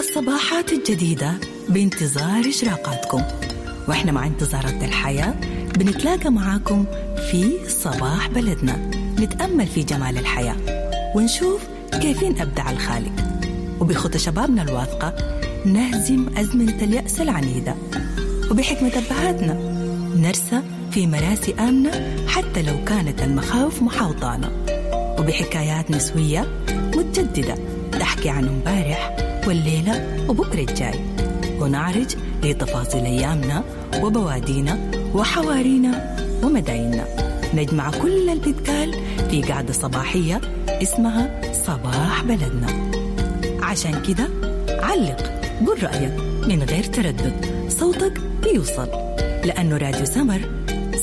الصباحات الجديدة بانتظار إشراقاتكم، وإحنا مع انتظارات الحياة بنتلاقى معاكم في صباح بلدنا، نتأمل في جمال الحياة ونشوف كيفين أبدع الخالق، وبخطى شبابنا الواثقة نهزم أزمنة اليأس العنيدة، وبحكمة أبهاتنا نرسى في مراسي آمنة حتى لو كانت المخاوف محاوطانا، وبحكايات نسوية متجددة تحكي عن امبارح والليلة وبكرة الجاي، ونعرج لتفاصيل أيامنا وبوادينا وحوارينا ومدايننا. نجمع كل اللي بيتقال في قعدة صباحية اسمها صباح بلدنا. عشان كده علق، قول رأيك من غير تردد، صوتك بيوصل، لأنه راديو سمر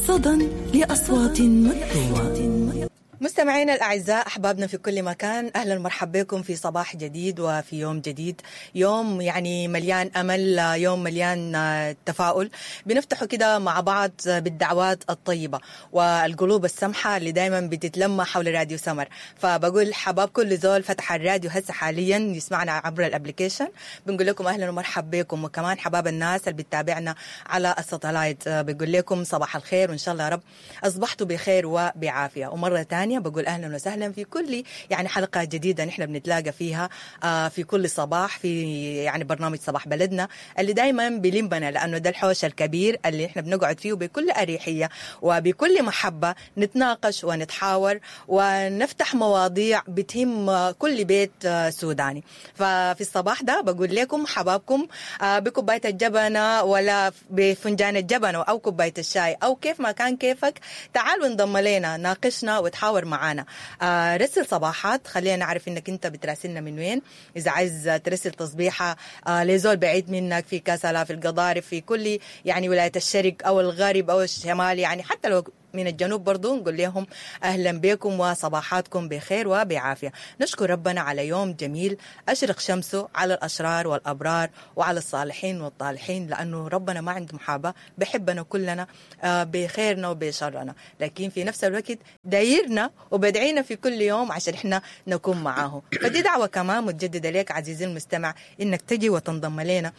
صدى لأصوات مكتومة. مستمعينا الأعزاء، أحبابنا في كل مكان، أهلا ومرحبا بكم في صباح جديد وفي يوم جديد، يوم يعني مليان أمل، يوم مليان تفاؤل. بنفتحه كده مع بعض بالدعوات الطيبة والقلوب السمحة اللي دايما بتتلمى حول راديو سمر. فبقول حباب كل زول فتح الراديو هسه حاليا يسمعنا عبر ال application، بنقول لكم أهلا ومرحبا بكم. وكمان حباب الناس اللي بتتابعنا على ال satellite، بقول لكم صباح الخير، وإن شاء الله يا رب أصبحتوا بخير وبعافية. ومرة تانية بقول أهلا وسهلا في كل يعني حلقة جديدة نحن بنتلاقى فيها في كل صباح في يعني برنامج صباح بلدنا اللي دايما بلمبنا، لأنه ده الحوش الكبير اللي احنا بنقعد فيه بكل أريحية وبكل محبة، نتناقش ونتحاور ونفتح مواضيع بتهم كل بيت سوداني. ففي الصباح ده بقول لكم حبابكم بكوباية الجبنة ولا بفنجان الجبنة أو كوباية الشاي أو كيف ما كان كيفك، تعالوا انضم لنا، ناقشنا وتحاور معانا. رسل صباحات، خلينا نعرف انك انت بتراسلنا من وين. اذا عايز ترسل تصبيحه لزول بعيد منك في كسلا، في القضارف، في كل يعني ولاية الشرق او الغرب او الشمال، يعني حتى لو من الجنوب برضو نقول لهم أهلا بكم وصباحاتكم بخير وبعافية. نشكر ربنا على يوم جميل أشرق شمسه على الأشرار والأبرار وعلى الصالحين والطالحين، لأنه ربنا ما عنده محاباة، بحبنا كلنا بخيرنا وبشرنا، لكن في نفس الوقت دايرنا وبدعينا في كل يوم عشان إحنا نكون معاه. فدي دعوة كمان متجددة لك عزيزي المستمع، إنك تجي وتنضم لنا،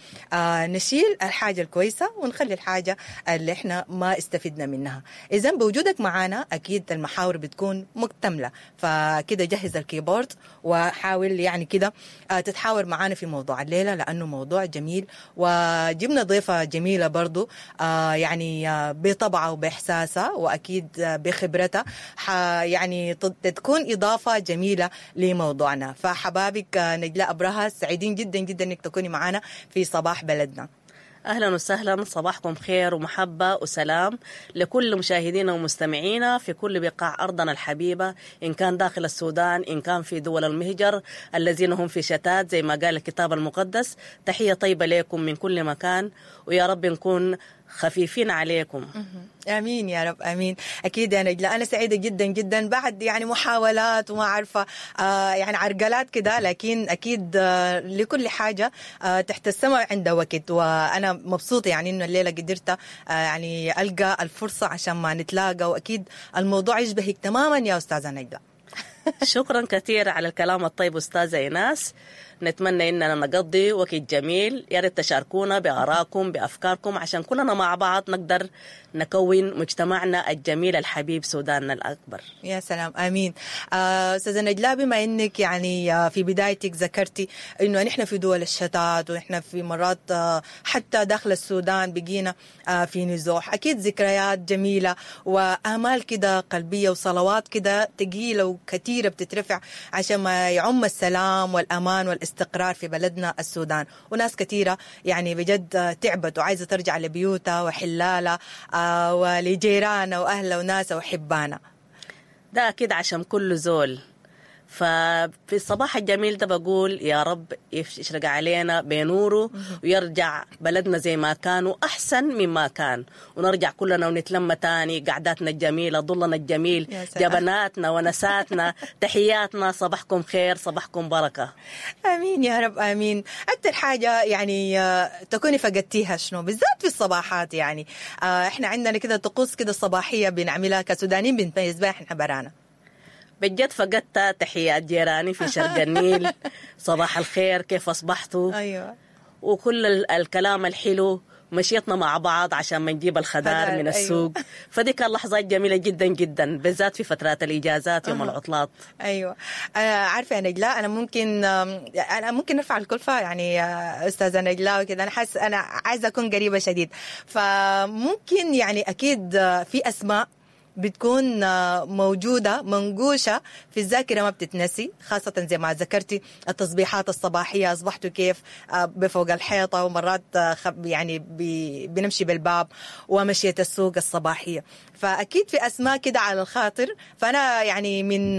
نشيل الحاجة الكويسة ونخلي الحاجة اللي إحنا ما استفدنا منها. إذن بوجودك معانا أكيد المحاور بتكون مكتملة، فكده جهز ال keyboard وحاول يعني كده تتحاور معانا في موضوع الليلة، لأنه موضوع جميل وجبنا ضيفة جميلة برضو يعني بطبعها وبإحساسها وأكيد بخبرتها يعني تكون إضافة جميلة لموضوعنا. فحبابك نجلاء أبرهة، سعيدين جدا جدا أنك تكوني معانا في صباح بلدنا. أهلا وسهلا، صباحكم خير ومحبة وسلام لكل مشاهدينا ومستمعينا في كل بقاع أرضنا الحبيبة، إن كان داخل السودان، إن كان في دول المهجر الذين هم في شتات زي ما قال الكتاب المقدس. تحية طيبة لكم من كل مكان، ويا رب نكون خفيفين عليكم. امين يا رب، امين. اكيد يا نجلاء انا سعيدة جدا جدا بعد يعني محاولات وما عارفه يعني عرقلات كده، لكن اكيد لكل حاجة تحت السماء عندها وقت، وانا مبسوطة يعني انه الليلة قدرت يعني القى الفرصة عشان ما نتلاقى، واكيد الموضوع يشبهك تماما يا استاذه نجلاء. شكرا كثير على الكلام الطيب أستاذة إيناس. نتمنى إننا نقضي وقت جميل، يا ريت تشاركونا بآرائكم بأفكاركم عشان كلنا مع بعض نقدر نكون مجتمعنا الجميل الحبيب سوداننا الأكبر. يا سلام، آمين. أستاذة نجلاء، بما إنك يعني في بدايتك ذكرتي إنه نحن في دول الشتات ونحن في مرات حتى داخل السودان بقينا في نزوح، أكيد ذكريات جميلة وآمال كده قلبية وصلوات كده ثقيلة وكثيرة بتترفع عشان ما يعم السلام والأمان والاستقرار في بلدنا السودان. وناس كثيرة يعني بجد تعبت وعايزة ترجع لبيوتها وحلالها ولجيرانها وأهلها وناسها وحبانها. ده أكيد عشان كل زول. ففي الصباح الجميل ده بقول يا رب يشرق علينا بنوره ويرجع بلدنا زي ما كان وأحسن مما كان، ونرجع كلنا ونتلم تاني، قعداتنا الجميلة، ظلنا الجميل، جبناتنا ونساتنا. تحياتنا، صباحكم خير، صباحكم بركة. آمين يا رب، آمين. أكثر حاجة يعني تكوني فقدتيها شنو بالذات في الصباحات؟ يعني إحنا عندنا كده طقوس كده صباحية بنعملها كسودانيين، بنتميز بها إحنا برانا. بجد فقدت تحيات جيراني في شرق النيل. صباح الخير، كيف أصبحتوا؟ أيوة. وكل الكلام الحلو، مشيتنا مع بعض عشان ما نجيب الخضار من السوق. أيوة. فدي كان لحظات جميلة جدا جدا، بالذات في فترات الإجازات يوم العطلات. أيوة. أنا عارفة يا نجلاء، أنا ممكن أرفع الكلفة يعني أستاذة نجلاء وكده، أنا حاسة أنا عايزة أكون قريبة شديد، فممكن يعني أكيد في أسماء بتكون موجودة منقوشة في الذاكرة ما بتتنسي، خاصة زي ما ذكرتي التصبيحات الصباحية، أصبحتوا كيف بفوق الحيطة، ومرات يعني بنمشي بالباب، ومشية السوق الصباحية، فأكيد في أسماء كده على الخاطر. فأنا يعني من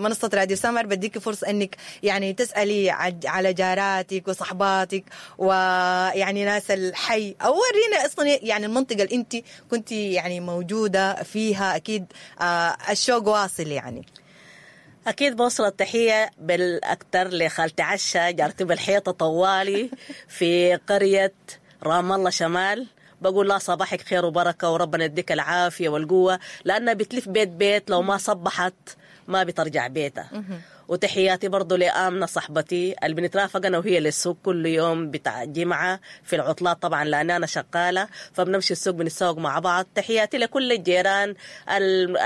منصة راديو سمر بديك فرصة أنك يعني تسألي على جاراتك وصحباتك ويعني ناس الحي، أو ورينا أصلا يعني المنطقة اللي أنت كنت يعني موجودة فيها. أكيد الشوق واصل يعني. أكيد بوصل التحية بالأكثر لخالتي عشة، جارتي بالحيطة طوالي في قرية رام الله شمال. بقول لها صباحك خير وبركة، وربنا يديك العافية والقوة، لأنها بتلف بيت بيت، لو ما صبحت ما بترجع بيتها. وتحياتي برضو لآمنة صاحبتي اللي بنترافق أنا وهي للسوق كل يوم بتاع جمعة في العطلات طبعا، لأن أنا شغالة فبنمشي السوق بنتسوق مع بعض. تحياتي لكل الجيران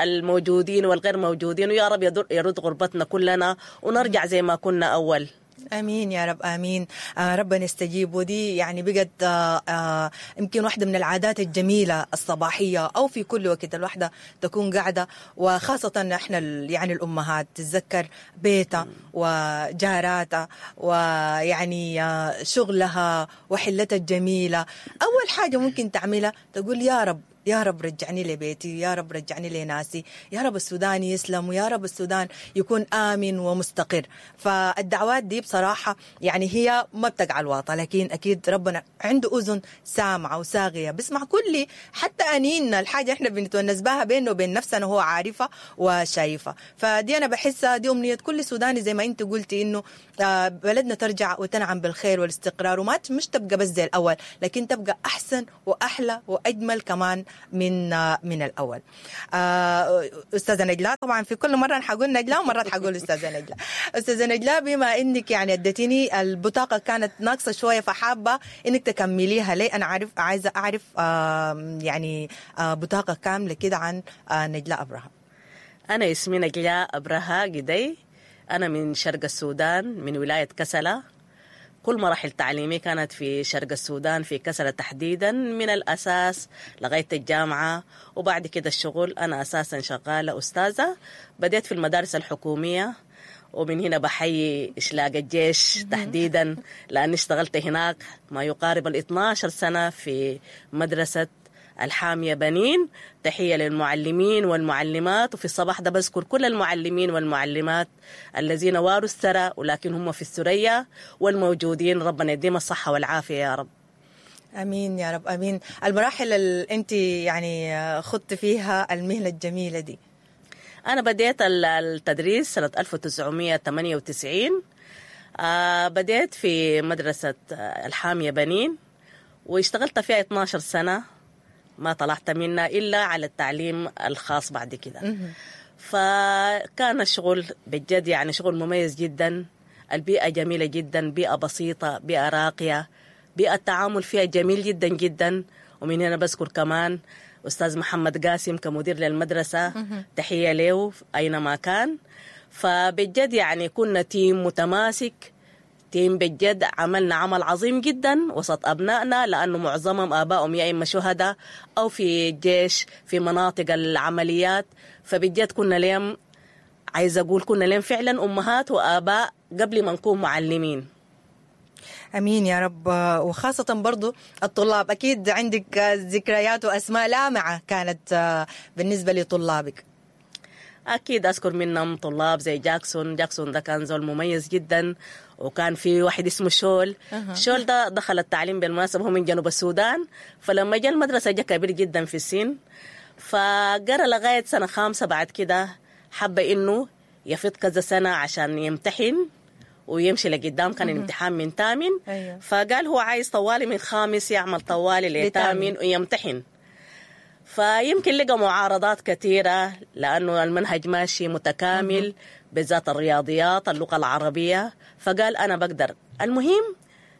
الموجودين والغير موجودين، ويا رب يرد غربتنا كلنا ونرجع زي ما كنا أول. امين يا رب، امين. ربنا يستجيب. ودي يعني بقت يمكن واحدة من العادات الجميلة الصباحية، او في كل وقت الواحدة تكون قاعدة، وخاصة احنا يعني الامهات تتذكر بيتها وجاراتها ويعني شغلها وحلتها الجميلة. اول حاجة ممكن تعملها تقول يا رب، يا رب رجعني لبيتي، يا رب رجعني لناسي، يا رب السودان يسلم، ويا رب السودان يكون آمن ومستقر. فالدعوات دي بصراحة يعني هي ما بتقع الواطة، لكن أكيد ربنا عنده أذن سامعة وساغية، بسمع كل حتى أنيننا، الحاجة إحنا بنتونس بها بينه وبين نفسنا هو عارفة وشايفة. فدي أنا بحسها دي أمنية كل سوداني، زي ما أنت قلتي إنه بلدنا ترجع وتنعم بالخير والاستقرار، وما مش تبقى بس زي الأول، لكن تبقى أحسن وأحلى وأجمل كمان من الأول. أستاذة نجلاء، طبعا في كل مرة حقول نجلاء ومرات حقول أستاذة نجلاء. أستاذة نجلاء، بما إنك يعني اديتيني البطاقة كانت ناقصة شوية، فحابة إنك تكمليها لي. أنا عايزة أعرف يعني بطاقة كاملة كده عن نجلاء أبرهة. أنا اسمي نجلاء أبرهة قدي، أنا من شرق السودان، من ولاية كسلة. كل مراحل تعليمي كانت في شرق السودان، في كسلة تحديدا، من الأساس لغاية الجامعة وبعد كده الشغل. أنا أساسا شغالة أستاذة، بديت في المدارس الحكومية، ومن هنا بحيي إشلاق الجيش تحديدا، لأني اشتغلت هناك ما يقارب 12 سنة في مدرسة الحامية بنين. تحية للمعلمين والمعلمات، وفي الصباح ده بذكر كل المعلمين والمعلمات الذين واروا الثرى ولكن هم في الثريا والموجودين، ربنا يديم الصحة والعافية يا رب. أمين يا رب، أمين. المراحل اللي أنت يعني خضت فيها المهنة الجميلة دي. أنا بديت التدريس سنة 1998، بديت في مدرسة الحامية بنين واشتغلت فيها 12 سنة، ما طلعت منها إلا على التعليم الخاص بعد كده. فكان الشغل بجد يعني شغل مميز جدا، البيئة جميلة جدا، بيئة بسيطة، بيئة راقية، بيئة التعامل فيها جميل جدا جدا. ومن هنا بذكر كمان أستاذ محمد قاسم كمدير للمدرسة، تحية له أينما كان. فبجد يعني كنا team متماسك، team بجد عملنا عمل عظيم جدا وسط أبنائنا، لأنه معظمهم آبائهم يا إما شهداء أو في الجيش في مناطق العمليات. فبجد كنا ليهم، عايزة أقول كنا ليهم فعلا أمهات وآباء قبل ما نكون معلمين. أمين يا رب. وخاصة برضو الطلاب، أكيد عندك ذكريات وأسماء لامعة كانت بالنسبة لطلابك. أكيد أذكر منهم طلاب زي جاكسون. جاكسون ده كان زول مميز جدا، وكان في واحد اسمه شول. شول ده دخل التعليم بالمناسبة، هو من جنوب السودان، فلما جاء المدرسة جاء كبير جدا في السن، فقرأ لغاية سنة خامسة. بعد كده حب إنه يفيض كذا سنة عشان يمتحن ويمشي لقدام، كان الامتحان من تامن. أيوة. فقال هو عايز طوالي من خامس يعمل طوالي لتامن ويمتحن. فيمكن لقى معارضات كثيرة لأنه المنهج ماشي متكامل، بالذات الرياضيات، اللغة العربية، فقال أنا بقدر. المهم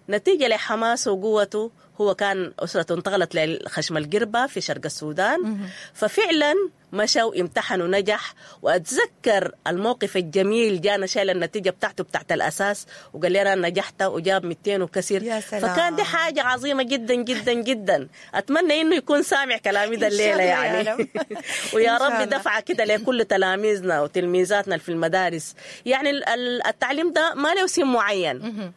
نتيجة لحماسه وقوته، هو كان أسرته انتقلت لخشم القربة في شرق السودان، ففعلا مشى وامتحن ونجح. وأتذكر الموقف الجميل، جانا شايل النتيجة بتاعته بتاعت الأساس وقال لي أنا نجحت، وجاب 200 وكسر. يا سلام. فكان دي حاجة عظيمة جدا جدا جدا. أتمنى إنه يكون سامع كلامي ده الليلة يعني. ويا رب دفعة كده لكل تلاميذنا وتلميذاتنا في المدارس. يعني التعليم ده ما له سن معين،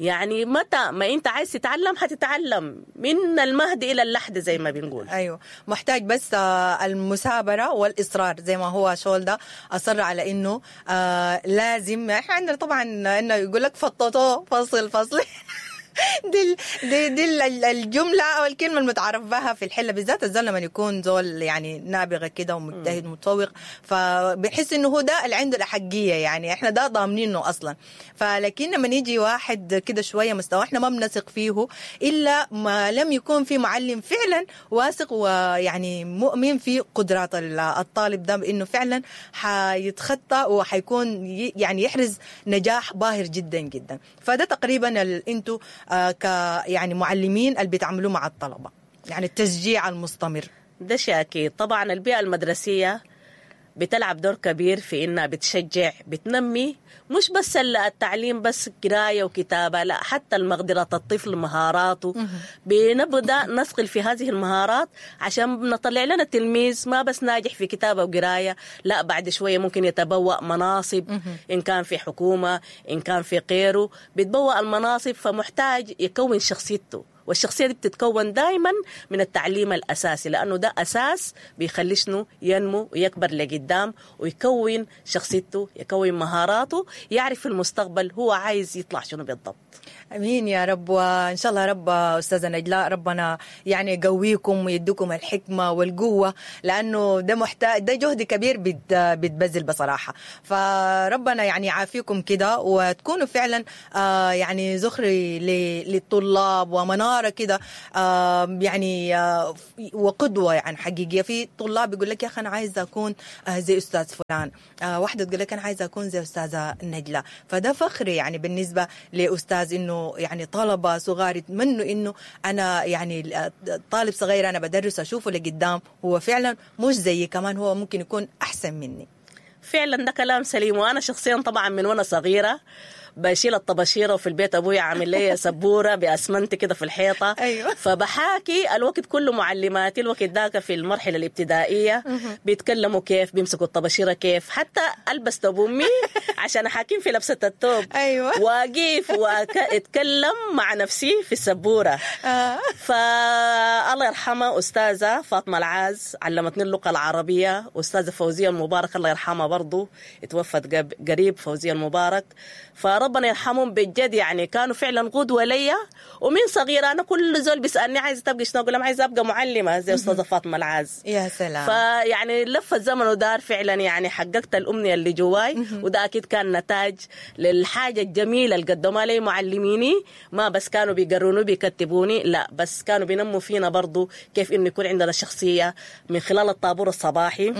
يعني متى ما انت عايز تتعلم حتتعلم، من المهد الى اللحد زي ما بنقول. ايوه، محتاج بس المثابرة والاصرار، زي ما هو شول ده اصر على انه لازم. احنا عندنا طبعا انه يقول لك فططوه فصل فصل. دي دي الجملة أو الكلمة المتعارف بها في الحلة، بالذات الزول لما يكون زول يعني نابغة كده ومجتهد ومتفوق، فبحس إنه هو ده اللي عنده الأحقية، يعني إحنا ده ضامنينه أصلا. فلكن لما يجي واحد كده شوية مستوى إحنا ما بنثق فيه إلا ما لم يكون في معلم فعلا واثق ويعني مؤمن في قدرات الطالب ده، بإنه فعلا حيتخطى وحيكون يعني يحرز نجاح باهر جدا جدا. فده تقريبا انتوا ك يعني معلمين اللي بيتعاملوا مع الطلبة، يعني التشجيع المستمر ده شيء أكيد. طبعا البيئة المدرسية بتلعب دور كبير في إنها بتشجع، بتنمي، مش بس التعليم بس قراية وكتابة، لا حتى المقدرات الطفل، مهاراته. بنبدأ نثقل في هذه المهارات عشان نطلع لنا التلميذ ما بس ناجح في كتابة وقراية، لا بعد شوية ممكن يتبوأ مناصب، إن كان في حكومة إن كان في غيره بيتبوأ المناصب. فمحتاج يكون شخصيته، والشخصية دي بتتكون دايما من التعليم الأساسي، لأنه ده أساس بيخلي شنو ينمو ويكبر لقدام ويكون شخصيته، يكون مهاراته، يعرف في المستقبل هو عايز يطلع شنو بالضبط. أمين يا رب. وإن شاء الله يا رب أستاذة نجلاء ربنا يعني يقويكم ويديكم الحكمة والقوة، لأنه ده محتاج، ده جهد كبير بتبذل بصراحة. فربنا يعني يعافيكم كده وتكونوا فعلا يعني زخري للطلاب ومنارة كده، يعني وقدوة يعني حقيقية. في طلاب يقول لك يا أخي أنا عايزة أكون زي أستاذ فلان، واحدة تقول لك أنا عايزة أكون زي أستاذة نجلاء. فده فخر يعني بالنسبة لأستاذ إنه يعني طلبة صغار يتمنوا إنه أنا يعني طالب صغير أنا بدرس أشوفه لقدام هو فعلا مش زيي، كمان هو ممكن يكون أحسن مني. فعلا ده كلام سليم. وأنا شخصيا طبعا من وأنا صغيرة بشيل الطباشيرة، وفي البيت أبوي عامل لي سبورة بأسمنت كده في الحيطة. أيوة. فبحاكي الوقت كله معلماتي الوقت ذاك في المرحلة الابتدائية بيتكلموا كيف بيمسكوا الطباشيرة كيف، حتى ألبس توب أمي عشان أحاكيم في لبسة التوب. أيوة. وأقف وأتكلم مع نفسي في السبورة. فالله يرحمها أستاذة فاطمة العاز علمتني اللغة العربية، أستاذة فوزية المبارك الله يرحمها برضو اتوفت قريب، فوزية المبارك، فربنا يرحمهم بجد، يعني كانوا فعلا قدوة ليا. ومن صغيرة أنا كل زول بيسألني عايزة تبقي شنو، أقول لهم عايزة أبقى معلمة زي أستاذة فاطمة العاز. يا سلام. فيعني لف الزمن ودار فعلا، يعني حققت الأمنية اللي جواي، وده أكيد كان نتاج للحاجة الجميلة اللي قدموها لي معلميني. ما بس كانوا بيقروني بيكتبوني، لا بس كانوا بينموا فينا برضو كيف إنه يكون عندنا شخصية من خلال الطابور الصباحي.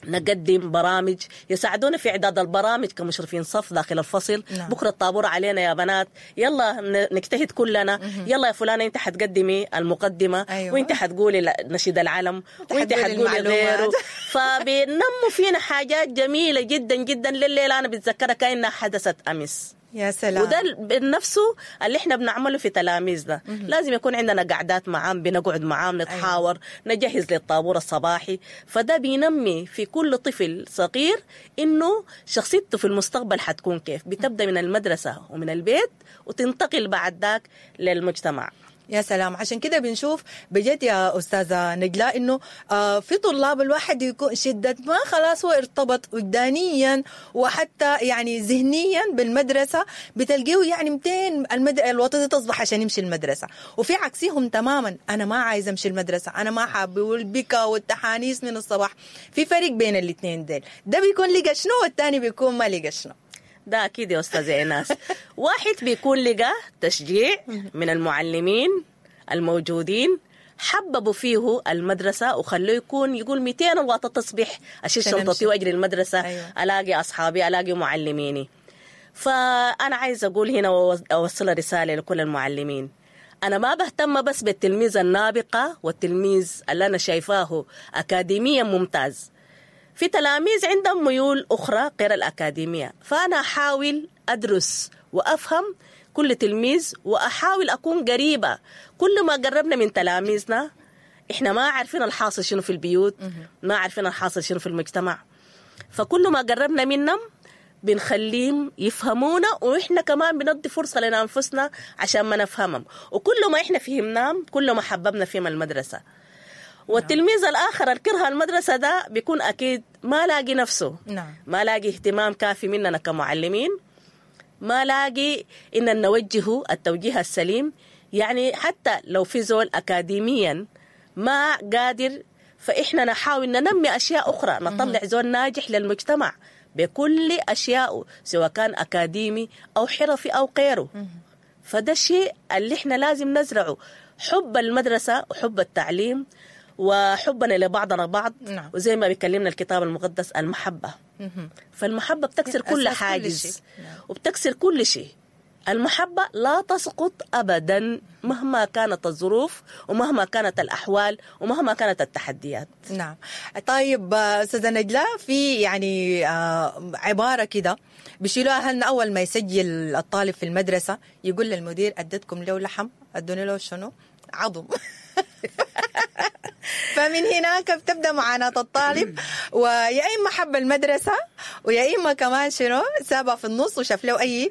نقدم برامج، يساعدونا في إعداد البرامج كمشرفين صف داخل الفصل. نعم. بكرة الطابور علينا يا بنات، يلا نجتهد كلنا. يلا يا فلانة أنت حتقدمي المقدمة. أيوة. وأنت حتقولي نشيد العلم، وأنت حتقولي غيره. فبينموا فينا حاجات جميلة جدا جدا لليلة أنا بتذكرها كأنها حدثت أمس. يا سلام. وده نفسه اللي احنا بنعمله في تلاميذنا. لازم يكون عندنا قعدات معام، بنقعد معام نتحاور. أيوة. نجهز للطابور الصباحي. فده بينمي في كل طفل صغير انه شخصيته في المستقبل حتكون كيف. بتبدأ من المدرسة ومن البيت وتنتقل بعد ذاك للمجتمع. يا سلام. عشان كده بنشوف بجد يا أستاذة نجلاء إنه في طلاب الواحد يكون شدة ما خلاص هو ارتبط وجدانيا وحتى يعني ذهنيا بالمدرسة، بتلقيه يعني 200 الوطنية تصبح عشان يمشي المدرسة. وفي عكسهم تماما، أنا ما عايز أمشي المدرسة، أنا ما حابب، والبكا والتحانيس من الصباح. في فرق بين الاثنين ديل، ده بيكون لقى شنو والتاني بيكون ما لقى شنو. ده أكيد يا أستاذة إيناس. واحد بيكون لقى تشجيع من المعلمين الموجودين، حببوا فيه المدرسة وخلوه يكون يقول 200 الواطة تصبح أشيل شنطتي وأجري المدرسة. أيوة. ألاقي أصحابي، ألاقي معلميني. فأنا عايزة أقول هنا وأوصل رسالة لكل المعلمين، أنا ما بهتم بس بالتلميذ النابقة والتلميذ اللي أنا شايفاه أكاديميا ممتاز، في تلاميذ عندهم ميول أخرى غير الأكاديمية، فأنا أحاول أدرس وأفهم كل تلميذ وأحاول أكون قريبة. كل ما قربنا من تلاميذنا، إحنا ما عارفين الحاصل شنو في البيوت، ما عارفين الحاصل شنو في المجتمع، فكل ما قربنا منهم بنخليهم يفهمونا، وإحنا كمان بندي فرصة لنا أنفسنا عشان ما نفهمهم، وكل ما إحنا فهمناهم كل ما حببنا فيهم المدرسة. والتلميذ الآخر الكره المدرسة ده بيكون أكيد ما لاقي نفسه. نعم. ما لاقي اهتمام كافي مننا كمعلمين، ما لاقي إن نوجهه التوجيه السليم. يعني حتى لو في زول أكاديميا ما قادر، فإحنا نحاول ننمي أشياء أخرى، نطلع زول ناجح للمجتمع بكل أشيائه، سواء كان أكاديمي أو حرفي أو غيره. فده الشيء اللي إحنا لازم نزرعه، حب المدرسة وحب التعليم وحبنا لبعضنا بعض. نعم. وزي ما بيكلمنا الكتاب المقدس المحبة. فالمحبة بتكسر كل حاجز. نعم. وبتكسر كل شيء. المحبة لا تسقط أبدا مهما كانت الظروف ومهما كانت الأحوال ومهما كانت التحديات. نعم. طيب أستاذة نجلاء، في يعني عبارة كده بيشيلوها أهلنا أول ما يسجل الطالب في المدرسة، يقول للمدير أدتكم له لحم، أدوني له شنو؟ عظم. فمن هناك بتبدأ معاناة الطالب، ويا إما حب المدرسة ويا إما كمان شنو سابها في النص وشاف له أي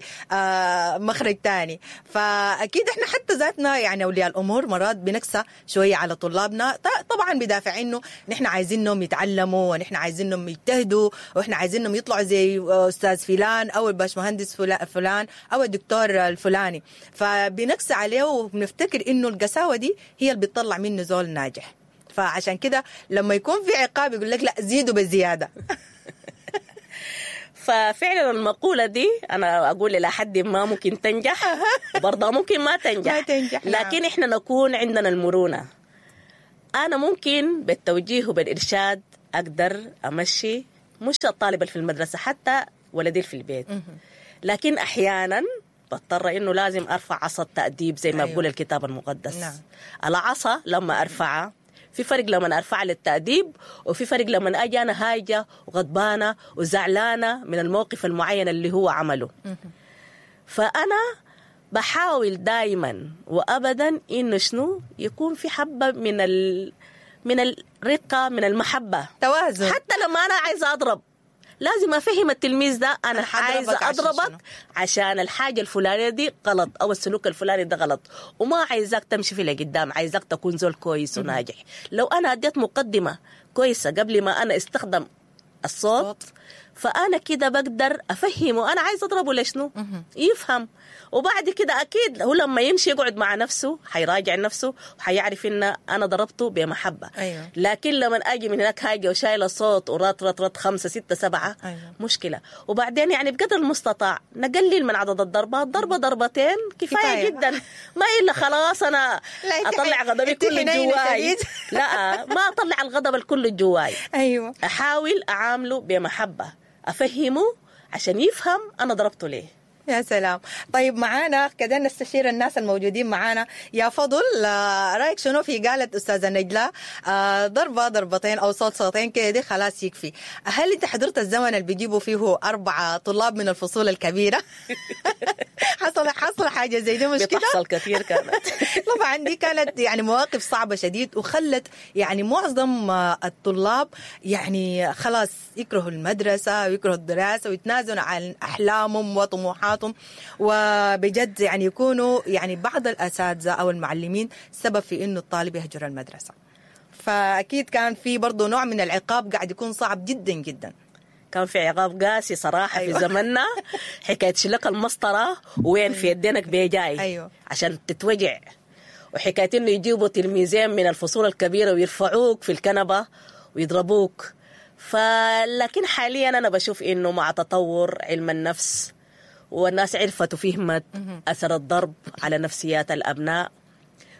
مخرج تاني. فأكيد إحنا حتى ذاتنا يعني أولياء الأمور مرات بنكسى شوية على طلابنا، طبعا بدافع إنه نحن عايزينهم يتعلموا ونحن عايزينهم يجتهدوا وإحنا عايزينهم يطلعوا زي أستاذ فلان أو الباشمهندس فلان أو الدكتور الفلاني، فبنكسى عليه وبنفتكر إنه القساوة دي هي اللي بتطلع منه زول ناجح. فعشان كده لما يكون في عقاب يقول لك لا زيدوا بالزيادة. ففعلا المقولة دي أنا أقول إلى حد ما ممكن تنجح وبرضه ممكن ما تنجح, ما تنجح. لكن إحنا نكون عندنا المرونة. أنا ممكن بالتوجيه وبالإرشاد أقدر أمشي مش الطالب في المدرسة، حتى ولدي في البيت، لكن أحيانا بضطر إنه لازم أرفع عصا التأديب زي ما بقول الكتاب المقدس. نعم. العصا لما أرفعها في فرق لما أرفع للتأديب، وفي فرق لما أجي أنا هايجة وغضبانة وزعلانة من الموقف المعين اللي هو عمله. فأنا بحاول دايما وأبدا إنه شنو يكون في حبة من الرقة، من المحبة، توازن. حتى لما أنا عايزة أضرب لازم أفهم التلميذ ده أنا عايزة أضربك عشان الحاجة الفلانية دي غلط أو السلوك الفلاني ده غلط، وما عايزاك تمشي في لقدام، عايزاك تكون زول كويس وناجح. لو أنا أديت مقدمة كويسة قبل ما أنا استخدم الصوت، فأنا كده بقدر أفهمه أنا عايز أضربه لشنو، يفهم. وبعد كده أكيد هو لما يمشي يقعد مع نفسه حيراجع نفسه وحيعرف إن أنا ضربته بمحبة. أيوة. لكن لما أجي من هناك هاجة وشايلة صوت ورات رات رات 5 6 7، أيوة. مشكلة. وبعدين يعني بقدر المستطاع نقلل من عدد الضربات، ضربة ضربتين كفاية جدا، ما إلا خلاص أنا أطلع غضبي كله جواي. لا، ما أطلع الغضب الكل جواي. أيوة. أحاول أعامله بمحبة، أفهمه عشان يفهم أنا ضربته ليه. يا سلام. طيب معانا كده نستشير الناس الموجودين معانا. يا فضل، رأيك شنو في قالت أستاذة نجلاء ضربة ضربتين أو صوت صوتين كده دي خلاص يكفي؟ هل أنت حضرت الزمن اللي بيجيبوا فيه 4 طلاب من الفصول الكبيرة؟ حصل حاجة زي دي مش كده؟ بتحصل كثير كانت. طبعا دي كانت يعني مواقف صعبة شديد، وخلت يعني معظم الطلاب يعني خلاص يكرهوا المدرسة ويكرهوا الدراسة ويتنازلوا عن أحلامهم وطموحاتهم، وبجد يعني يكونوا يعني بعض الأساتذة أو المعلمين سبب في إنه الطالب يهجر المدرسة. فأكيد كان في برضو نوع من العقاب قاعد يكون صعب جدا جدا. كان في عقاب قاسي صراحة. أيوة. في زمننا حكاية شلك المسطرة وين في يدينك بيجاي. أيوة. عشان تتوجع، وحكاية إنه يجيبوا تلميذين من الفصول الكبيرة ويرفعوك في الكنبة ويضربوك. فلكن حاليا أنا بشوف إنه مع تطور علم النفس والناس عرفت وفهمت أثر الضرب على نفسيات الأبناء،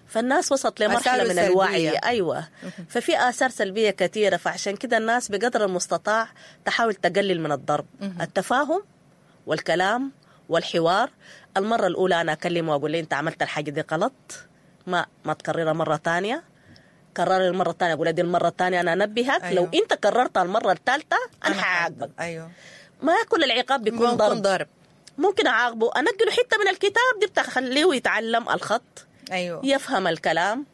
فالناس وصلت لمرحلة من الوعي. أيوة، ففي آثار سلبية كثيرة، فعشان كده الناس بقدر المستطاع تحاول تقلل من الضرب. التفاهم والكلام والحوار. المرة الأولى أنا أكلمه وأقول له أنت عملت الحاجة دي غلط، ما تكررها مرة تانية. كرر المرة الثانية، أقول دي المرة الثانية أنا أنبهك. أيوة. لو أنت كررتها المرة الثالثة أنا حعاقبك. أيوة. ما كل العقاب بيكون ضرب. ممكن أعاقبه، أنقله حتة من الكتاب دي بتخليه يتعلم الخط. أيوة. يفهم الكلام.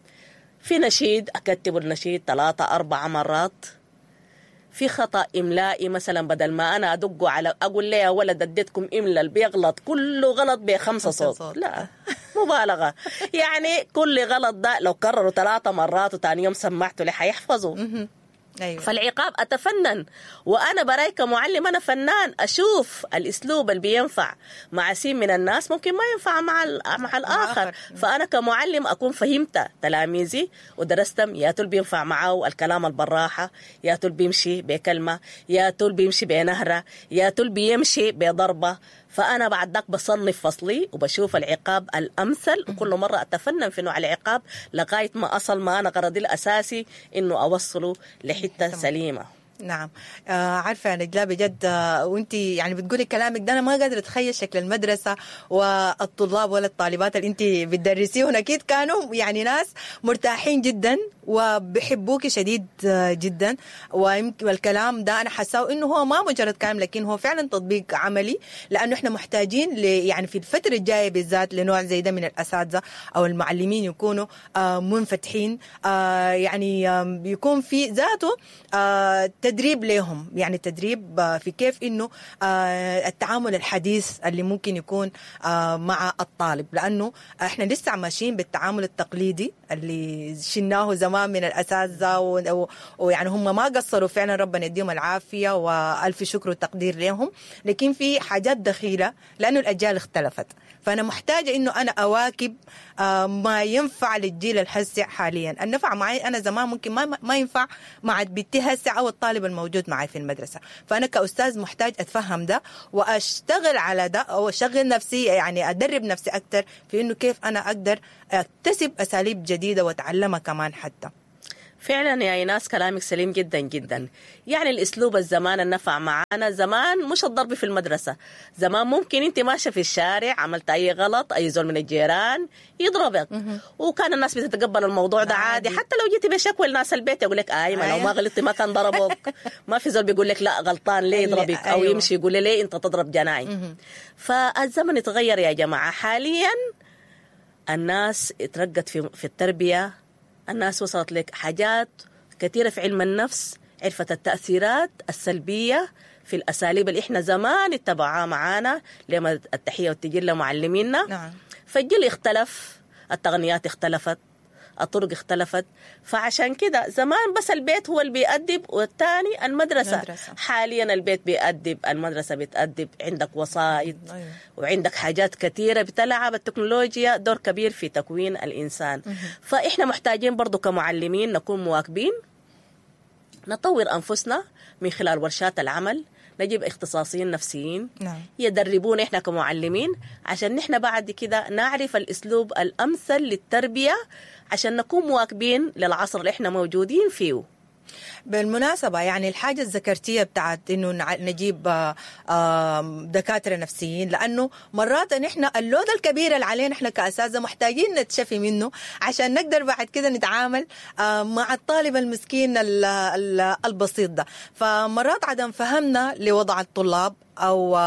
في نشيد أكتب النشيد 3-4 مرات. في خطأ إملائي مثلا، بدل ما أنا أدقه على أقول ليه يا ولد أديتكم إملاء اللي بيغلط كله غلط ب5 صوت، لا مبالغة. يعني كل غلط ده لو كرروا 3 مرات وتاني يوم سمعته ليه حيحفظه. أيوة. فالعقاب أتفنن، وأنا براي كمعلم أنا فنان، أشوف الأسلوب اللي بينفع مع سين من الناس ممكن ما ينفع مع الآخر. فأنا كمعلم أكون فهمت تلاميذي ودرستهم، يا تول بينفع معه الكلام البراحة، يا تول بيمشي بكلمة، يا تول بيمشي بنهرة، يا تول بيمشي بضربة. فأنا بعد ذاك بصنف فصلي وبشوف العقاب الأمثل، وكل مرة أتفنن في نوع العقاب لغاية ما أصل ما أنا غرضي الأساسي إنه أوصله لحتة سليمة. نعم. عارفة يا نجلاء بجد، وانت يعني بتقولي كلامك ده أنا ما قادرة أتخيل شكل المدرسة والطلاب ولا الطالبات اللي انت بتدرسيهم، أكيد كانوا يعني ناس مرتاحين جدا وبحبوك شديد جدا. والكلام ده أنا حاساه إنه هو ما مجرد كلام، لكن هو فعلا تطبيق عملي، لأنه إحنا محتاجين يعني في الفترة الجاية بالذات لنوع زي ده من الأساتذة أو المعلمين يكونوا منفتحين، يعني يكون في ذاته تدريب لهم، يعني تدريب في كيف إنه التعامل الحديث اللي ممكن يكون مع الطالب، لأنه إحنا لسه ماشيين بالتعامل التقليدي اللي شلناه زمان من الأساتذة، ويعني هم ما قصروا فعلا، ربنا يديهم العافية وألف شكر وتقدير لهم، لكن في حاجات دخيلة لأنه الأجيال اختلفت. فأنا محتاجة إنه أنا أواكب ما ينفع للجيل الهسع حاليا. النفع معي أنا زمان ممكن ما ينفع مع بنتي هسع أو الطالب الموجود معي في المدرسة. فأنا كأستاذ محتاج أتفهم ده وأشتغل على ده، أو أشغل نفسي، يعني أدرب نفسي أكتر في إنه كيف أنا أقدر أكتسب أساليب جديدة وأتعلمها كمان حتى. فعلا يا إيناس كلامك سليم جدا جدا. يعني الأسلوب الزمان النفع معانا زمان مش الضرب في المدرسة. زمان ممكن أنت ماشية في الشارع عملت أي غلط، أي زول من الجيران يضربك، وكان الناس بتتقبل الموضوع ده عادي. حتى لو جيتي بشكوى لناس البيت يقول لك آي ما لو ما غلطتي ما كان ضربوك. ما في زول بيقول لك لا غلطان ليه يضربك، أو يمشي يقول ليه أنت تضرب جناي. فالزمن اتغير يا جماعة. حاليا الناس اترقت في التربية، الناس وصلت لك حاجات كثيرة في علم النفس، عرفت التأثيرات السلبية في الأساليب اللي إحنا زمان اتبعها معانا لما التحية والتجلة معلمينا. نعم. فالجيل اختلف، التقنيات اختلفت، الطرق اختلفت. فعشان كده زمان بس البيت هو اللي بيأدب والثاني المدرسة. حاليا البيت بيأدب، المدرسة بتأدب، عندك وسائط. أيوة. وعندك حاجات كثيرة بتلعب التكنولوجيا دور كبير في تكوين الإنسان. فإحنا محتاجين برضو كمعلمين نكون مواكبين، نطور أنفسنا من خلال ورشات العمل، نجيب اختصاصيين نفسيين. نعم. يدربون إحنا كمعلمين عشان نحن بعد كده نعرف الأسلوب الأمثل للتربية عشان نكون مواكبين للعصر اللي إحنا موجودين فيه. بالمناسبة يعني الحاجة الذكرتية بتاعت إنه نجيب دكاترة نفسيين، لأنه مرات نحن اللود الكبير اللي علينا إحنا كأساتذة محتاجين نتشفي منه عشان نقدر بعد كده نتعامل مع الطالب المسكين البسيط ده. فمرات عدم فهمنا لوضع الطلاب او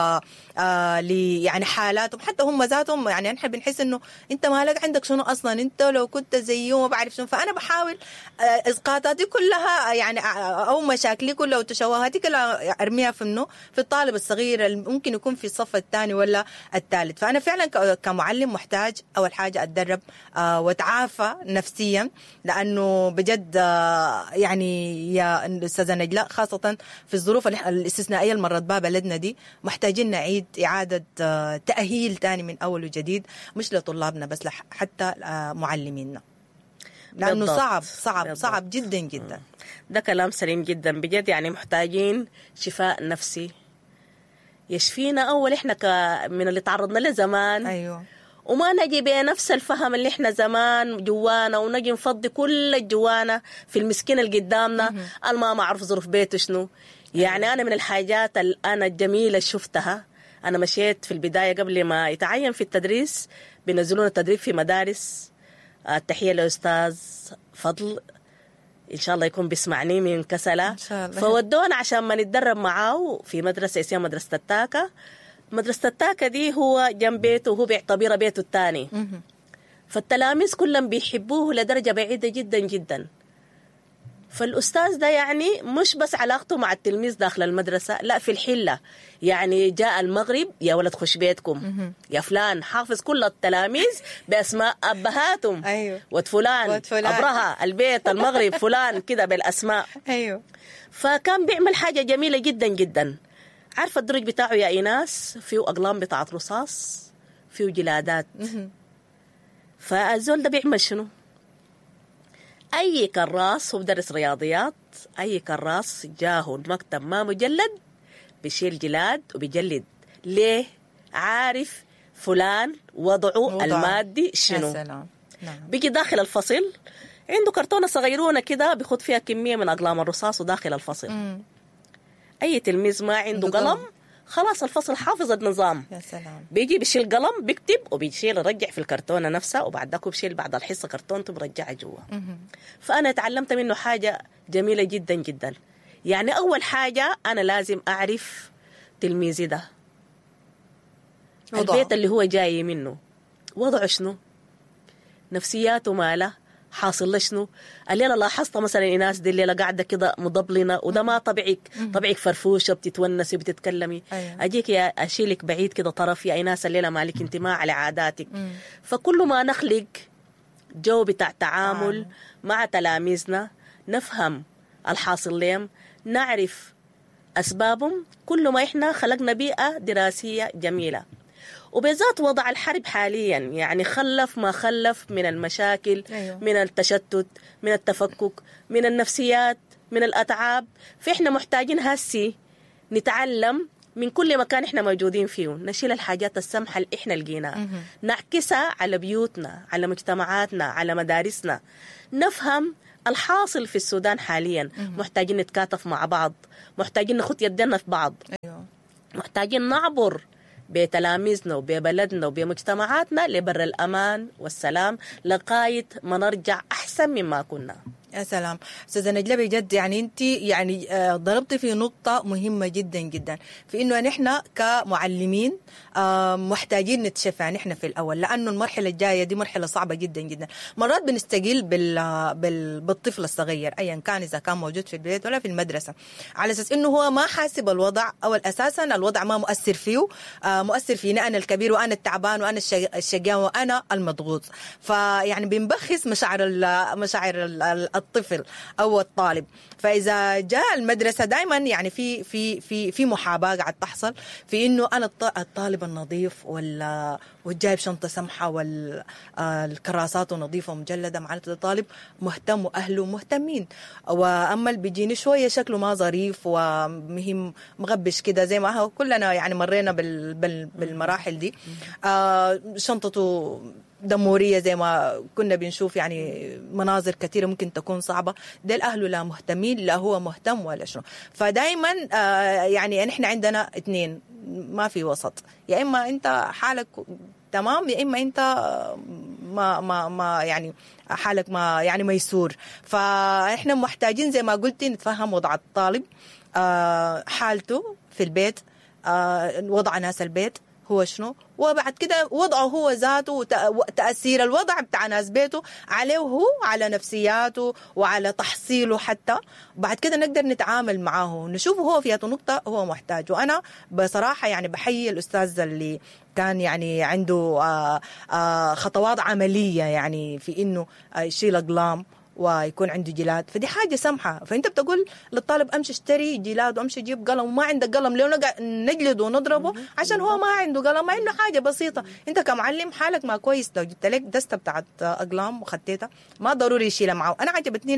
يعني حالاتهم حتى هم ذاتهم، يعني نحن بنحس انه انت مالك عندك شنو اصلا، انت لو كنت زيه وما بعرف شنو. فانا بحاول اسقاطاتي كلها يعني او مشاكلي كلها وتشوهاتي كلها ارميها في منه في الطالب الصغير اللي ممكن يكون في الصف الثاني ولا الثالث. فانا فعلا كمعلم محتاج اول حاجة اتدرب واتعافى نفسيا، لانه بجد يعني يا استاذه نجلاء خاصة في الظروف الاستثنائية اللي مرت بها بلدنا دي محتاجين نعيد إعادة تأهيل تاني من أول وجديد، مش لطلابنا بس حتى معلمينا، لأنه بالضبط. صعب صعب بالضبط. صعب جدا جدا. ده كلام سليم جدا بجد. يعني محتاجين شفاء نفسي يشفينا أول إحنا من اللي تعرضنا له زمان. أيوة. وما نجي بنفس الفهم اللي احنا زمان جوانا، ونجي نفضي كل الجوانا في المسكين اللي قدامنا الما معروف ظروف بيته شنو. يعني انا من الحاجات اللي انا الجميلة شفتها، انا مشيت في البداية قبل ما يتعين في التدريس بينزلونا التدريب في مدارس. التحية للاستاذ فضل، ان شاء الله يكون بيسمعني من كسله. إن شاء الله. فودونا عشان ما نتدرب معاه في مدرسه اسمها مدرسه التاكا. مدرسه التاكا دي هو جنب بيته، وهو بيعتبرها بيته الثاني. فالتلاميذ كلهم بيحبوه لدرجة بعيدة جدا جدا. فالأستاذ ده يعني مش بس علاقته مع التلميذ داخل المدرسة، لا في الحلة. يعني جاء المغرب، يا ولد خش بيتكم، يا فلان، حافظ كل التلاميذ بأسماء أبهاتهم. أيوه. ود فلان، ود فلان. أبرهة البيت المغرب فلان كده بالأسماء. ايوه. فكان بيعمل حاجة جميلة جدا جدا. عارفة الدرج بتاعه يا إيناس فيه أقلام بتاعت رصاص، فيه جلادات. فالزول ده بيعمل شنو؟ أي كراس، هو بدرس رياضيات، أي كراس جاهه المكتب ما مجلد بيشيل جلاد وبيجلد. ليه؟ عارف فلان وضعه وضعه. المادي يا شنو. سلام. نعم. بيجي داخل الفصل عنده كرتونة صغيرونة كده بيخد فيها كمية من أقلام الرصاص وداخل الفصل. أي تلميذ ما عنده عنده قلم قلم. خلاص الفصل حافظ النظام. يا سلام. بيجي بيشيل قلم بيكتب وبيشيل يرجع في الكرتونة نفسها، وبعد ذاك بيشيل بعد الحصة كرتونته برجعها جوا. فأنا تعلمت منه حاجة جميلة جدا جدا. يعني أول حاجة أنا لازم أعرف تلميذي ده، وضعه. البيت اللي هو جاي منه وضعه شنو، نفسياته ماله، حاصل له شنو. الليلة لاحظت مثلا ايناس دي الليلة قاعدة كده مضبلنه، وده ما طبيعك، طبيعك فرفوشه بتتونسي وبتتكلمي. أيوة. اجيك يا اشيلك بعيد كده طرف، يا ايناس الليلة مالك انت ما على عاداتك. فكل ما نخلق جو بتاع تعامل مع تلاميذنا، نفهم الحاصل لهم، نعرف أسبابهم، كل ما إحنا خلقنا بيئة دراسية جميلة. وبالذات وضع الحرب حاليا يعني خلف ما خلف من المشاكل. أيوة. من التشتت، من التفكك، من النفسيات، من الأتعاب. فإحنا محتاجين هسي نتعلم من كل مكان إحنا موجودين فيه، نشيل الحاجات السمحة اللي إحنا لقيناها، نعكسها على بيوتنا، على مجتمعاتنا، على مدارسنا، نفهم الحاصل في السودان حاليا. محتاجين نتكاتف مع بعض، محتاجين نخط يدنا في بعض. ايوه. محتاجين نعبر بتلاميذنا وببلدنا وبمجتمعاتنا لبر الأمان والسلام لغاية ما نرجع أحسن مما كنا. يا سلام استاذه نجلاء، بجد يعني انت يعني ضربتي في نقطة مهمة جدا جدا، في انه نحن كمعلمين محتاجين نتشفى نحن في الاول، لانه المرحلة الجاية دي مرحلة صعبة جدا جدا. مرات بنستقل بالطفل الصغير ايا كان، اذا كان موجود في البيت ولا في المدرسة، على اساس انه هو ما حاسب الوضع، او اساسا الوضع ما مؤثر فيه، مؤثر فينا انا الكبير وانا التعبان وانا الشقيان وانا المضغوط. فيعني بنبخس مشاعر الطفل او الطالب. فاذا جاء المدرسة دائما يعني في في في في محاباة قاعد تحصل في انه انا الطالب النظيف والجايب شنطه سمحه والكراسات نظيفة ومجلده، معناته الطالب مهتم واهله مهتمين. واما اللي بيجيني شوية شكله ما ظريف ومهم مغبش كده، زي ما هو كلنا يعني مرينا بالمراحل دي، شنطته دمورية زي ما كنا بنشوف، يعني مناظر كثيرة ممكن تكون صعبة. ده الأهل لا مهتمين، لا هو مهتم ولا شنو. فدايما يعني نحن عندنا اثنين، ما في وسط، يا إما أنت حالك تمام، يا إما أنت ما ما ما يعني حالك ما يعني ميسور. فإحنا محتاجين زي ما قلتي نتفهم وضع الطالب، حالته في البيت، وضع ناس البيت هو شنو، وبعد كده وضعه هو ذاته وتأثير الوضع بتاع ناس بيته عليه هو، على نفسياته وعلى تحصيله حتى. بعد كده نقدر نتعامل معاه، نشوفه هو في نقطة هو محتاج. وأنا بصراحة يعني بحيي الأستاذ اللي كان يعني عنده خطوات عملية، يعني في إنه يشيل أقلام ويكون عنده جلاد، فدي حاجة سمحة. فأنت بتقول للطالب أمشي اشتري جلاد وأمشي جيب قلم، وما عندك قلم ليه نجلده ونضربه عشان هو ما عنده قلم، مع إنه حاجة بسيطة. أنت كمعلم حالك ما كويس، لو جبت لك دستة بتاعت أقلام وخطيتها ما ضروري يشيلها معه. أنا عجبتني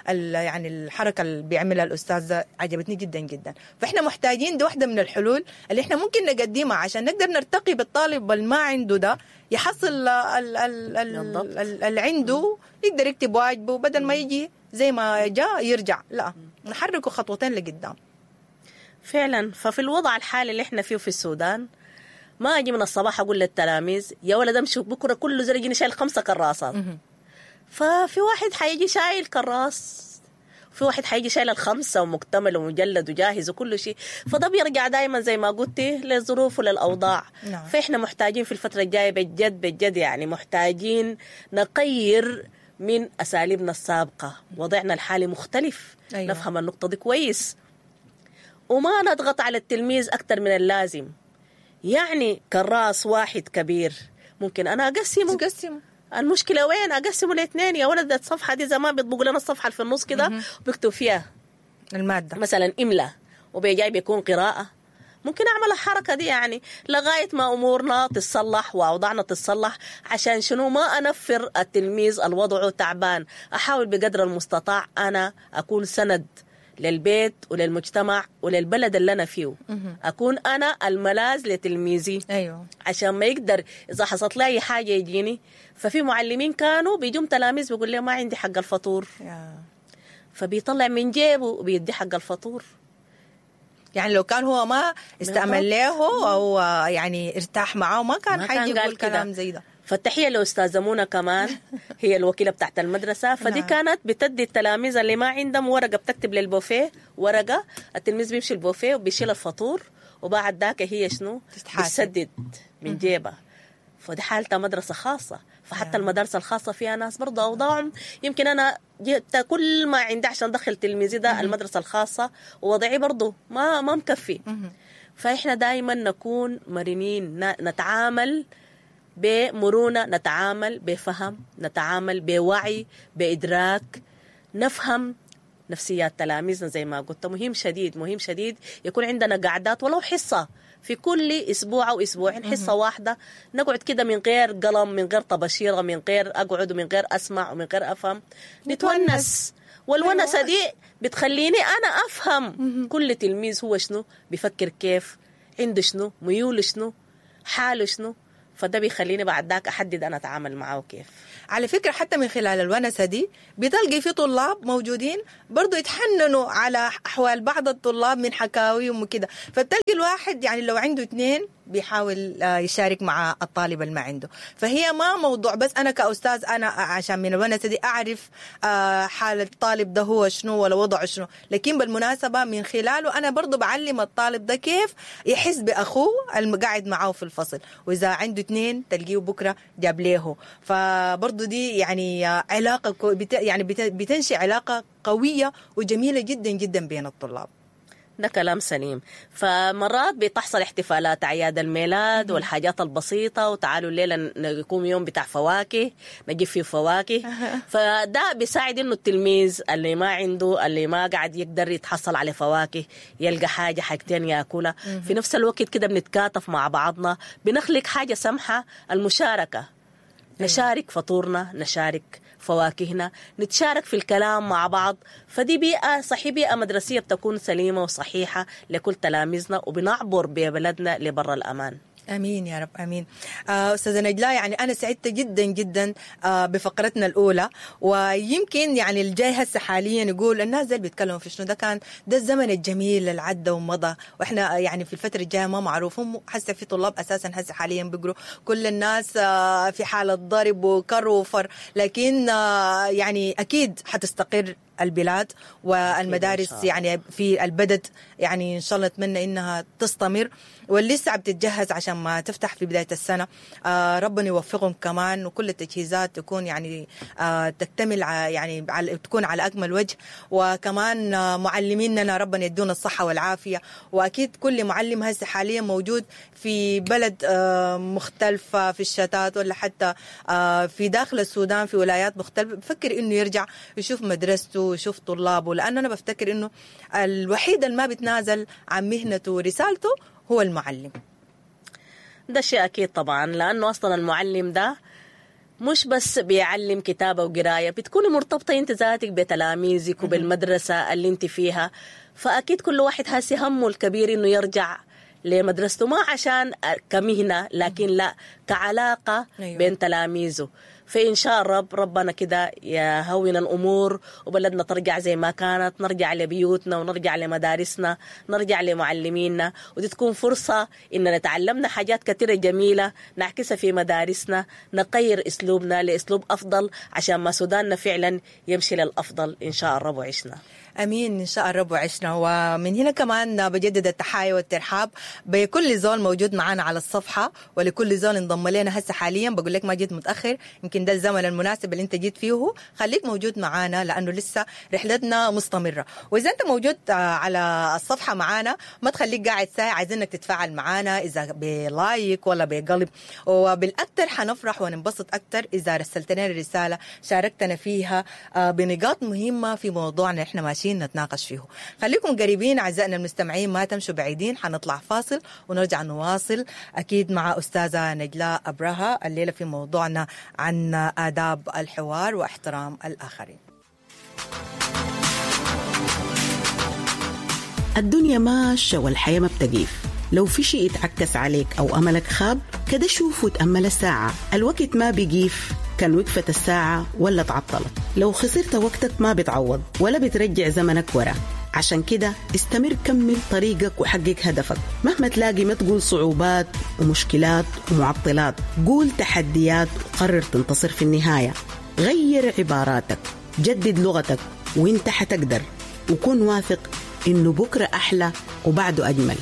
ال يعني الحركة اللي بيعملها الأستاذ، عجبتني جدا جدا. فإحنا محتاجين دي واحدة من الحلول اللي إحنا ممكن نقدمها عشان نقدر نرتقي بالطالب اللي ما عنده ده، يحصل اللي عنده، يقدر يكتب واجبه بدل ما يجي زي ما جاء يرجع، لا نحركه خطوتين لقدام. فعلا. ففي الوضع الحالي اللي احنا فيه في السودان، ما اجي من الصباح اقول للتلاميذ يا ولد امشوا بكره كله زول يجيني شايل 5 كراسات. ففي واحد حيجي شايل كراس، في واحد حيجي شايل 5 ومكتمل ومجلد وجاهز وكل شيء. فده بيرجع دائما زي ما قلتي للظروف وللأوضاع. نعم. فإحنا محتاجين في الفترة الجاية بجد بجد يعني محتاجين نغير من أساليبنا السابقة. وضعنا الحالي مختلف. أيوة. نفهم النقطة دي كويس، وما نضغط على التلميذ أكثر من اللازم. يعني كراس واحد كبير ممكن أنا أقسمه. تقسمه. المشكلة وين؟ أقسمه لاثنين يا ولد. الصفحة دي زمان بيطبقوا لنا الصفحة اللي في النص كده بيكتب فيها المادة مثلا إملاء، وبيجاي بيكون قراءة. ممكن أعمل الحركة دي يعني لغاية ما أمورنا تتصلح وأوضاعنا تتصلح. عشان شنو؟ ما أنفر التلميذ الوضع تعبان. أحاول بقدر المستطاع أنا أكون سند للبيت وللمجتمع وللبلد اللي أنا فيه. أكون أنا الملاذ لتلميذي. أيوة. عشان ما يقدر إذا حصلت لي أي حاجة يجيني. ففي معلمين كانوا بيجوا تلاميذ بيقول لي ما عندي حق الفطور، فبيطلع من جيبه وبيدي حق الفطور. يعني لو كان هو ما استعمل له أو يعني ارتاح معاه ما كان حيجي يقول كلام زي ده. فالتحية لأستاذة منى كمان، هي الوكيلة بتاعت المدرسة. فدي نعم. كانت بتدي التلاميذ اللي ما عندهم ورقة، بتكتب للبوفيه ورقة، التلميذ بيمشي البوفيه وبيشيل الفطور، وبعد ذاك هي شنو؟ بتسدد من جيبها. فدي حالتها مدرسة خاصة. فحتى نعم. المدارس الخاصة فيها ناس برضه أوضاعهم يمكن أنا جبت كل ما عندي عشان أدخل تلميذي ده المدرسة الخاصة، ووضعي برضه ما مكفي. فإحنا دايما نكون مرنين، نتعامل بمرونة، نتعامل بفهم، نتعامل بوعي، بإدراك، نفهم نفسيات تلاميذنا زي ما قلت. مهم شديد، مهم شديد يكون عندنا قعدات ولو حصة في كل أسبوع أو أسبوعين، حصة واحدة نقعد كده من غير قلم، من غير طباشيرة، من غير أقعد ومن غير أسمع ومن غير أفهم، نتونس. والونسة دي بتخليني أنا أفهم كل تلميذ هو شنو بيفكر، كيف عنده شنو، ميوله شنو، حاله شنو. فده بيخليني بعد ذاك أحدد أنا أتعامل معه كيف. على فكرة حتى من خلال الونسة دي بتلقي في طلاب موجودين برضو يتحننوا على أحوال بعض الطلاب من حكاويهم وكده. فبتلقي الواحد يعني لو عنده 2 بيحاول يشارك مع الطالب اللي ما عنده. فهي ما موضوع بس أنا كأستاذ أنا عشان من الونسة دي أعرف حال الطالب ده هو شنو ولا وضعه شنو، لكن بالمناسبة من خلاله أنا برضو بعلم الطالب ده كيف يحس بأخوه المقعد معه في الفصل، وإذا عنده 2 تلقيه بكرة جاب ليه. فبرضو دي يعني علاقة يعني بتنشئ علاقة قوية وجميلة جدا جدا بين الطلاب. ده كلام سليم. فمرات بتحصل احتفالات أعياد الميلاد والحاجات البسيطة، وتعالوا الليلة نقوم يوم بتاع فواكه، نجيب فيه فواكه. فده بيساعد إنه التلميذ اللي ما عنده، اللي ما قاعد يقدر يتحصل على فواكه، يلقى حاجة حاجتين ياكلها. في نفس الوقت كده بنتكاتف مع بعضنا، بنخلق حاجة سمحة، المشاركة. نشارك فطورنا، نشارك فواكهنا، نتشارك في الكلام مع بعض. فدي بيئة صحية، بيئة مدرسية بتكون سليمة وصحيحة لكل تلاميذنا، وبنعبر ببلدنا لبر الأمان. امين يا رب، امين. استاذه نجلاء، يعني انا سعدت جدا جدا بفقرتنا الاولى، ويمكن يعني الجاي هسه حاليا يقول الناس اللي بيتكلموا في شنو، ده كان ده الزمن الجميل اللي عدى ومضى، واحنا يعني في الفترة الجاية ما معروف. هم هسه في طلاب اساسا هسه حاليا بيقروا، كل الناس في حاله ضرب وكر وفر، لكن يعني اكيد حتستقر البلاد والمدارس يعني في البلد، يعني ان شاء الله نتمنى انها تستمر، واللي لسه بتتجهز عشان ما تفتح في بداية السنة. ربنا يوفقهم كمان، وكل التجهيزات تكون يعني تكتمل يعني تكون على اكمل وجه. وكمان معلميننا ربنا يدونا الصحة والعافية، واكيد كل معلم هسه حاليا موجود في بلد مختلفة في الشتات، ولا حتى في داخل السودان في ولايات مختلفة، بفكر انه يرجع يشوف مدرسته ويشوف طلابه، لأنه أنا بفتكر إنه الوحيد اللي ما بتنازل عن مهنته ورسالته هو المعلم. ده شيء أكيد طبعا، لأنه أصلا المعلم ده مش بس بيعلم كتابة وقراية، بتكوني مرتبطة أنت ذاتك بتلاميذك وبالمدرسة اللي أنت فيها. فأكيد كل واحد هاسي همه الكبير إنه يرجع لمدرسته، ما عشان كمهنة لكن لا كعلاقة بين تلاميذه. فإن شاء الرب ربنا كده يهون الأمور وبلدنا ترجع زي ما كانت، نرجع لبيوتنا ونرجع لمدارسنا، نرجع لمعلمينا، ودي تكون فرصة إننا تعلمنا حاجات كثيرة جميلة نعكسها في مدارسنا، نغير أسلوبنا لأسلوب أفضل عشان ما سوداننا فعلا يمشي للأفضل إن شاء الرب وعشنا. امين ان شاء الرب وعشنا. ومن هنا كمان بجدد التحايا والترحاب بكل زول موجود معنا على الصفحة، ولكل زول انضم لنا هسه حاليا. بقول لك ما جيت متاخر، يمكن ده الزمن المناسب اللي انت جيت فيه، خليك موجود معنا لانه لسه رحلتنا مستمرة. واذا انت موجود على الصفحة معنا ما تخليك قاعد ساعة، عايزينك تتفاعل معنا اذا ب like ولا بقلب، وبالاكثر حنفرح وننبسط اكثر اذا رسلت لنا رسالة شاركتنا فيها بنقاط مهمة في موضوعنا احنا ماشيين نتناقش فيه. خليكم قريبين اعزائنا المستمعين، ما تمشوا بعيدين، حنطلع فاصل ونرجع نواصل اكيد مع استاذه نجلاء ابرهة الليلة في موضوعنا عن آداب الحوار واحترام الاخرين. الدنيا ماشية والحياة ما بتقيف، لو في شيء اتعكس عليك او املك خاب كده شوف وتامل الساعة، الوقت ما بيقيف، كان وقفت الساعة ولا تعطلت. لو خسرت وقتك ما بتعوض ولا بترجع زمنك ورا، عشان كده استمر، كمل طريقك وحقق هدفك مهما تلاقي. ما تقول صعوبات ومشكلات ومعطلات، قول تحديات وقرر تنتصر في النهاية. غير عباراتك، جدد لغتك، وانت حتقدر، وكن واثق انه بكرة أحلى وبعده أجمل.